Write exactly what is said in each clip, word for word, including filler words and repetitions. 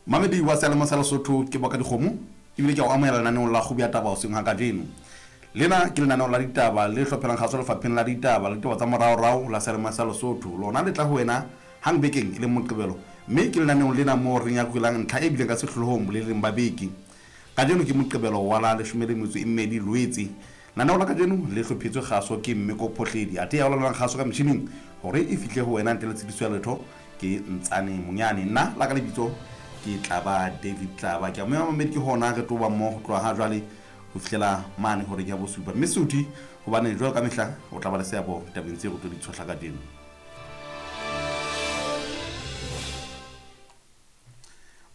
Mamedi wa seyalemoya sa Lesotho ke boka dikgomo ebile ke a o amohela lenaneong la Kgubu ya Taba hoseng ha kajeno. Lena ke lenaneo la ditaba le hlophelang kgaso lefapheng la ditaba le ditaba tsa moraorao la seyalemoya sa Lesotho. Lona le tla ho wena hang bekeng e leng Moqebelo, mme ke lenaneong lena moo re nyakulang ntlha e bileng ka sehlohlolong boleleng ba beke. Kajeno ke Moqebelo wa la leshome le metso e mmedi Loetse. Lenaneo la kajeno le hlophetswe kgaso ke Mmeko Phohledi, athe ya olaolang kgaso ka metjhining hore e fihle ho wena ntle le tshitiso ya letho ke Ntsane Monyane. Nna la ka lebitso ke Tlaba David Tlaba. Ke a moya mamedi ke hona re tlo ba mmoho ho tloha ha jwale ho fihlela mane hore ke ya bosupa. Mme Suthi hobane jwalo ka mehla o tla ba le seabo tabeng tse re tlo di tshohla kajeno.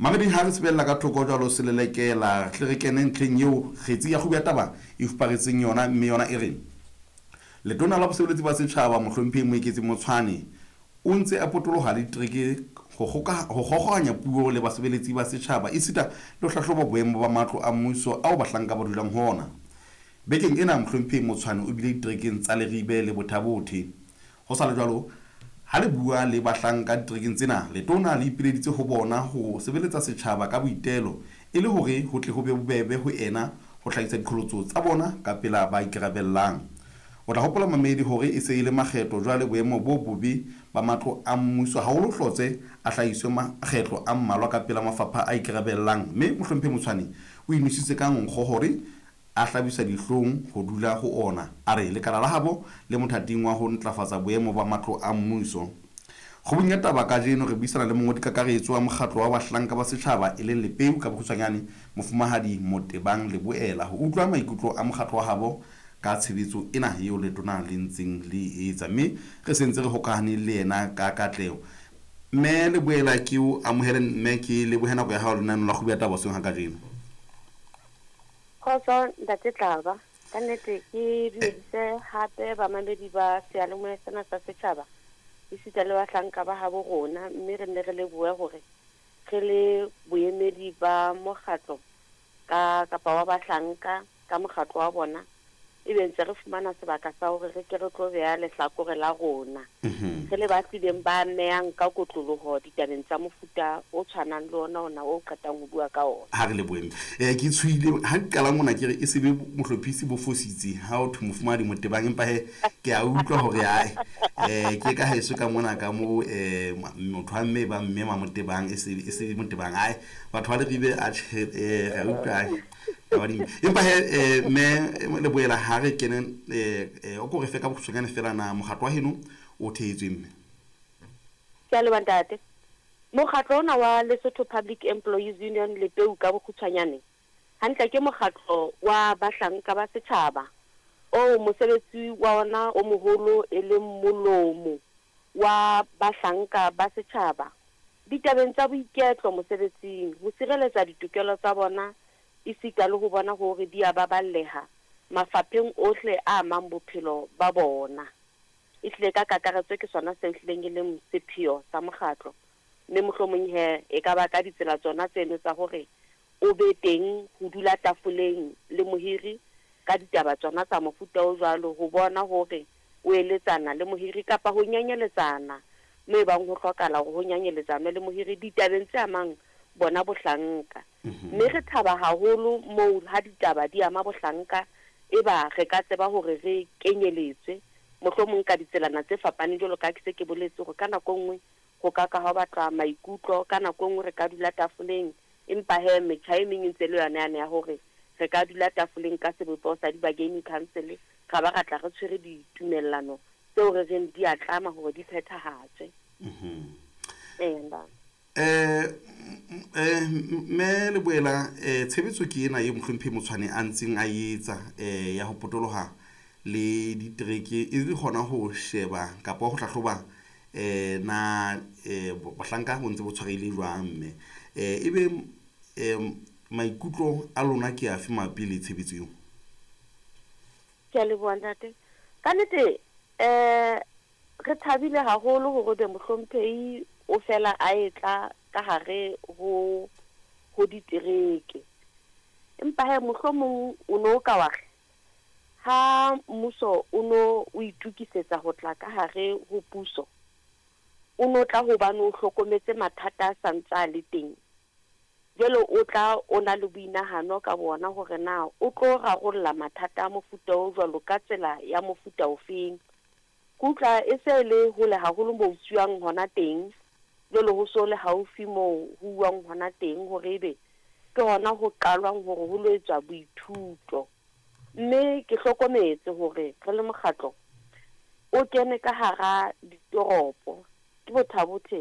Mamedi ha re sebella ka thoko jwalo selelekela tle re kene ntlheng eo kgetsi ya kgubu ya taba e fuparetseng yona, mme yona e re letona la bosebeletsi ba setjhaba mohlomphehi Moeketsi Motshwane o ntse a potoloha le ditereke ho kgogohanya puo le basebeletsi ba setjhaba esita le ho hlahloba boemo ba matlo a mmuso ao bahlanka ba dulang ho ona. Bekeng ena mohlomphehi Motshwane o bile diterekeng tsa Leribe le Bothabothe. Ho sa le jwalo, ha le bua le bahlanka diterekeng tsena, letona le ipileditse ho bona ho sebeletsa setjhaba ka boitelo e le hore ho tle ho be bobebe ho ena ho hlahisa diqholotso tsa bona ka pela ba ikarabellang. O tla hopola mamedi hore e se e le makgetlo jwale boemo bo bobe ba matlo a mmuso haholo hlotse a hlahiswe makgetlo a mmalwa ka pela mafapha a ikarabellang, mme mohlomphehi Motshwane o inositse ka nkgo hore a hlabisa dihlong ho dula ho ona. A re lekala la habo le mothating wa ho ntlafatsa boemo ba matlo a mmuso. Kgubung ya taba kajeno re buisana le mongodi kakaretso wa mokgatlo wa bahlanka ba setjhaba e leng Lepeu ka bokgutshwanyane mofumahadi Motebang Leboela ho utlwa maikutlo a mokgatlo wa habo ka tshebetso ena eo letona le ntseng le etsa, mme re sentse re hokahane le yena ka katleho. Mme Leboela ke o amohele, mme ke lebohe nako ya hao lenaneong la Kgubu ya Taba hoseng ha kajeno. Kgotso ntate Tlaba, ka nnete ke dumedise hape bamamedi ba seyalemoya sena sa setjhaba esita le bahlanka ba habo rona, mme re nne re lebohe hore re le boemedi ba mokgatlo ka kapa wa bahlanka ka mokgatlo wa bona ebe ntse re fumana sebaka sa hore re ke re tlo beha lehlakore la rona re le ba tlileng ba amehang ka kotloloho ditabeng tsa mofuta o tshwanang le ona ona o qetang ho bua ka ona. Ha re le boemo eh ke tshoile ha ke qala mona ke re e sebe mohlophisi bo fositse ha o thwe mofumahadi Motebang, empa he ke a utlwa hore ai eh ke ka heso ka mona ka mo eh motho wa mme ba mme Mamotebang e se e se Motebang, ai batho ba Leribe a tjhe eh re utlwa ai empa he mme Leboela ha re kene eh o ko re fe ka bokgutshwanyane fela na mokgatlo wa heno o thehetswe mme. Ke a leboha ntate. Mokgatlo ona wa Lesotho Public Employees Union Lepeu ka bokgutshwanyane hantle ke mokgatlo wa bahlanka ba setjhaba o mosebetsi wa ona o moholo e leng molomo wa bahlanka ba setjhaba ditabeng tsa boiketlo mosebetsing, ho sireletsa ditokelo tsa bona esita le ho bona hore di a baballeha mafapheng ohle a amang bophelo ba bona. Ehlile ka kakaretso ke sona se hlileng e leng sepheo sa mokgatlo, mme mohlomong he e ka ba ka ditsela tsona tseno tsa hore o be teng ho dula tafoleng le mohiri ka ditaba tsona tsa mofuta o jwalo, ho bona hore o eletsana le mohiri kapa ho nyanyeletsana mo e bang ho hlokahala hore ho nyanyeletsana le mohiri ditabeng tse amang bona bohlanka. Mme re thaba haholo moo ha ditaba di ama bohlanka e ba re ka tseba hore re kenyeletswe mohlomong ka ditselana tse fapaneng, jwalo ka ke se ke boletse hore ka nako nngwe ho ka ka ha batlwa maikutlo, ka nako nngwe re ka dula tafoleng, empa he metjha e meng e ntse le yona yane ya hore re ka dula tafoleng ka sebopeho sa di-bargaining council, ra ba ra tla re tshwere ditumellano tseo re reng di a tlama hore di phethahatswe. Ee ntate. Eh eh mme Leboela eh tshebetso ke ena e mohlomphehi Motshwane a ntseng a etsa eh ya ho potoloha le ditereke e le hona ho sheba kapa ho hlahloba eh na eh bahlanka bo ntse bo tshwarehile jwang, mme eh ebe eh maikutlo a lona ke afe mabapi le tshebetso eo? Ke a leboha ntate. Ka nnete eh re thabile haholo hore be mohlomphehi o fela a etla ka hare ho ho ditereke, empa he mohlomong o no ka wa re ha mmuso o no o itukisetsa ho tla ka hare ho puso, o no tla hobane o hlokometse mathata a santsa le teng Jwale o tla o na le boinahano ka bona hore na o tlo rarolla mathata a mofuta o jwalo ka tsela ya mofuta ofeng. Ke utlwa e se le hole haholo moo ho hona teng, jwale ho so le haufi moo ho uwang hona teng hore ebe ke hona ho qalwang hore ho lo etswa boithuto. Mme ke hlokometse hore re le mokgatlo o kene ka hara ditoropo, ke Botha Bothe